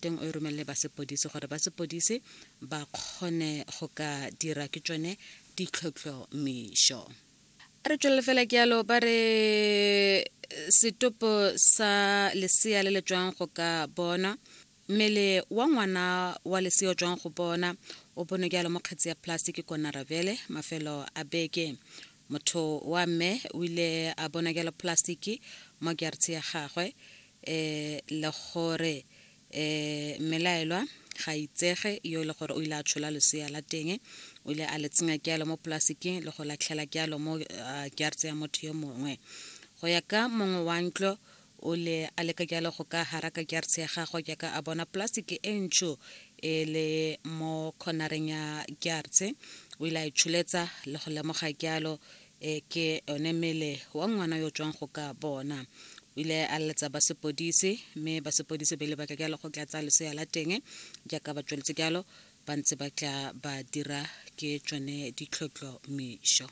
Teng o e romelele ba sepodisi gore ba sepodisi ba kgone go ka dira ke tsone ditlhotlhomišo. Re tswelele fela ke yalo ba re setopo sa lesea le le tswang go ka bona mmele wa ngwana wa lesea o tswang go bona o bonwe jalo mo kgetsi ya plastic ko Naravele mafelo a beke. Motho wa mme o ile a bona jalo plastic mo gertse ya gagwe um le gore um mmelaelwa ga itsege yo e le gore o ile a tshola lesea la teng, o ile a le tsenya jalo mo plasticing le go latlhela jalo mo gertse ya motho yo mongwe. Go ya ka mongwe wa ntlo o le a leka jalo go ka haraka gertse ya gagwe jaaka a bona plastic e ntsho e le mo cornereng ya gertse, o ile a e tsholetsa le go lemoga jalo e ke one mmele wa ngwana yo tswang go ka bona. O ile a leletsa ba sepodisi mme ba sepodisi ba ile ba tla jalo go tla tsaya lesea la teng jaaka ba tsweletse jalo ba ntse ba tla ba dira ke tsone ditlhotlhomišo.